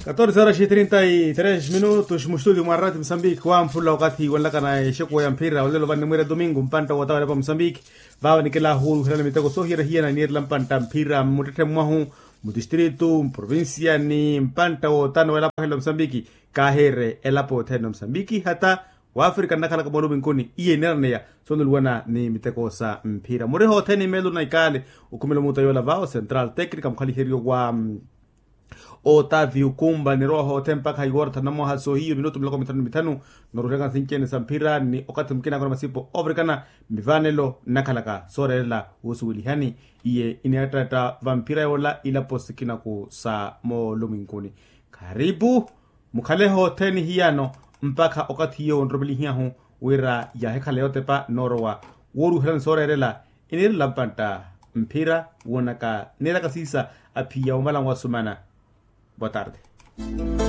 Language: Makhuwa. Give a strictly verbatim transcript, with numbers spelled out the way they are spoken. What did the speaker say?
Katorse horas e trinta y tres minutos mustudio mwa rati musambiki wamphula okathi wanlakana exekuwa ya mphira olelo vanimwira domingo mpantta wotawela pa musambiki. Vava nikela huruhirana miteko sohiyerahiyana niyerela mpantta mphira mmuttetthe mwahu, mudistritu mprovincia ni mpantta wotano welapo hela musambiki. Kahiire elapo othene musambiki hata wafrika nnakhalaka mooluminkuni iye niraneya. Sonuluwana ni miteko sa mphira muriha othene imelo na ikale. Okhumela omuta yola vao central tecnica mukhaliheriyo wa otavi okumba nirowa hoothe mpakha iwora thanu na mwaha soohiyo minutu miloko mithanu ni mithanu. Noruhilaka nsinci-ene sa mphira ni okathi mukina akona masipo ovirikana. Mivanelo nnakhalaka sooreerela wusuwelihani. Iye iniyattatta va mphira yoola ilapo sikinaku sa moolumwinkuni. Kharipu mukhale hothene hiyano mpakha okathi iyo onromelihiyahu wira yahikhala yotepa noorowa. Wooruhelani sooreerela iniirela mpantta mphira woonaka niiraka siisa aphiya omala nwasumana. Boa tarde.